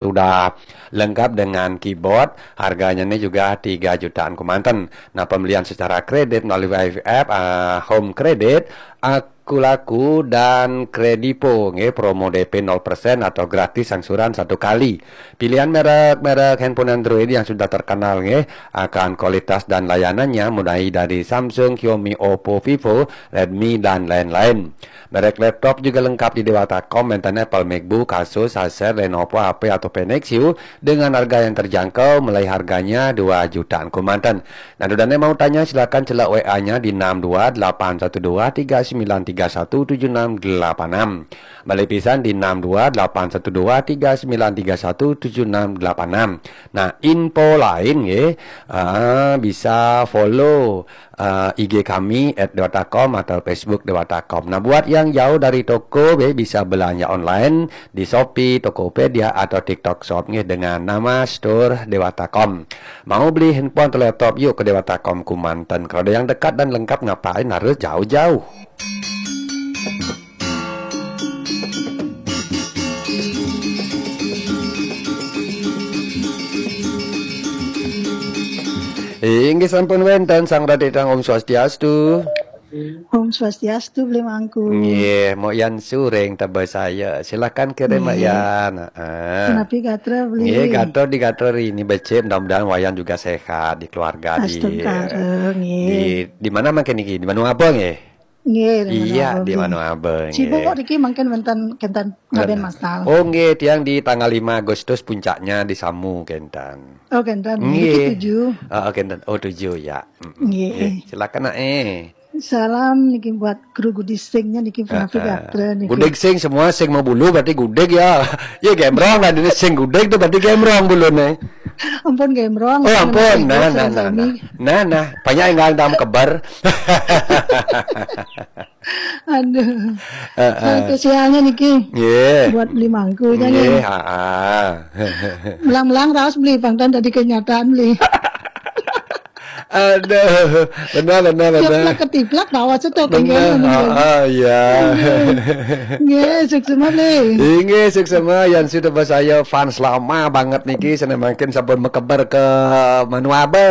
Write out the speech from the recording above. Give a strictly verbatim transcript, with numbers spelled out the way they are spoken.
Sudah lengkap dengan keyboard, harganya ini juga tiga jutaan kemanten. Nah, pembelian secara kredit melalui Y F F, ah, Home Credit, Akulaku, dan Kredivo, nggih, promo D P nol persen atau gratis angsuran satu kali. Pilihan merek-merek handphone Android yang sudah terkenal, nggih, akan kualitas dan layanannya, mulai dari Samsung, Xiaomi, Oppo, Vivo, Redmi, dan lain-lain. Merek laptop juga lengkap di Dewata.com, enten Apple MacBook, Asus, Acer, Lenovo, H P, atau Nexus dengan harga yang terjangkau, mulai harganya dua jutaan kemanten. Nah, dudané mau tanya, silakan celak W A-nya di enam dua delapan satu dua tiga sembilan tiga satu tujuh enam delapan enam. Balik pisan di enam dua delapan satu dua tiga sembilan tiga satu tujuh enam delapan enam. Nah, info lain, nggih, ah, bisa follow, eh, I G kami at dewata com atau Facebook Dewata.com. Nah, buat yang jauh dari toko, be, bisa belanja online di Shopee, Tokopedia, atau TikTok Shop, nggih, dengan nama Store Dewata.com. Mau beli handphone atau laptop, yuk ke Dewata.com kemanten. Kalau ada yang dekat dan lengkap, ngapain harus jauh-jauh? Inggih sampun wénten Sang Raditang, Om Swastiastu. Om Swastiastu, Bli Mangku. Nggih, Mbok Yan Suring tebes saya. Silakan kirim, Mbok Nggih. Yan. Heeh. Punapi gatra, Bli? Nggih, gatra di gatra rini becik, mudah-mudahan Wayan juga sehat di keluarga di Astungkara, nggih. Di, di mana mangkin niki? Di Manua Abang, nggih? Nggih, di Iya, Manua Abang, di nggih. Manua Abang, Sibuk nggih. Kok niki mangkin wénten kénten ngaben Bener. Masal. Oh, nggih, tiang di tanggal lima Agustus puncaknya di Samu kénten. Oh, kénten. Niki Nggih. Tujuh. Heeh, kénten. Oh, tujuh ya. Mm-mm. Nggih. Nggih, silakan, Nak, eh. Salam niki buat kru gudeg singnya niki, punapi Heeh. Gatra niki. Gudeg sing semua sing mau bulu berarti gudeg ya. Ya gembrong lah ini sing gudeg tuh berarti gembrong buluné. Ampun gembrong. Oh, ampun. Nah, nah, nah, nah. Nah, nah, banyak yang nggak tahu kebar. Aduh. Heeh. Spesialnya niki. Nggih. Buat Bli Mangku aja Nggih, nih. Heeh. Melang-melang raos Bli, pangtan tadi kenyataan Bli. Aduh, benar, benar, benar. Ceplak ketiplak bawa cetok. Benar, nggih, nggih. Ah, ah, iya. Nggih. Nggih, suksema, Bli. Inggih, suksema, Yan sudah saya fans lama banget niki, seneng mangkin sampun mekeber ke Manuabe.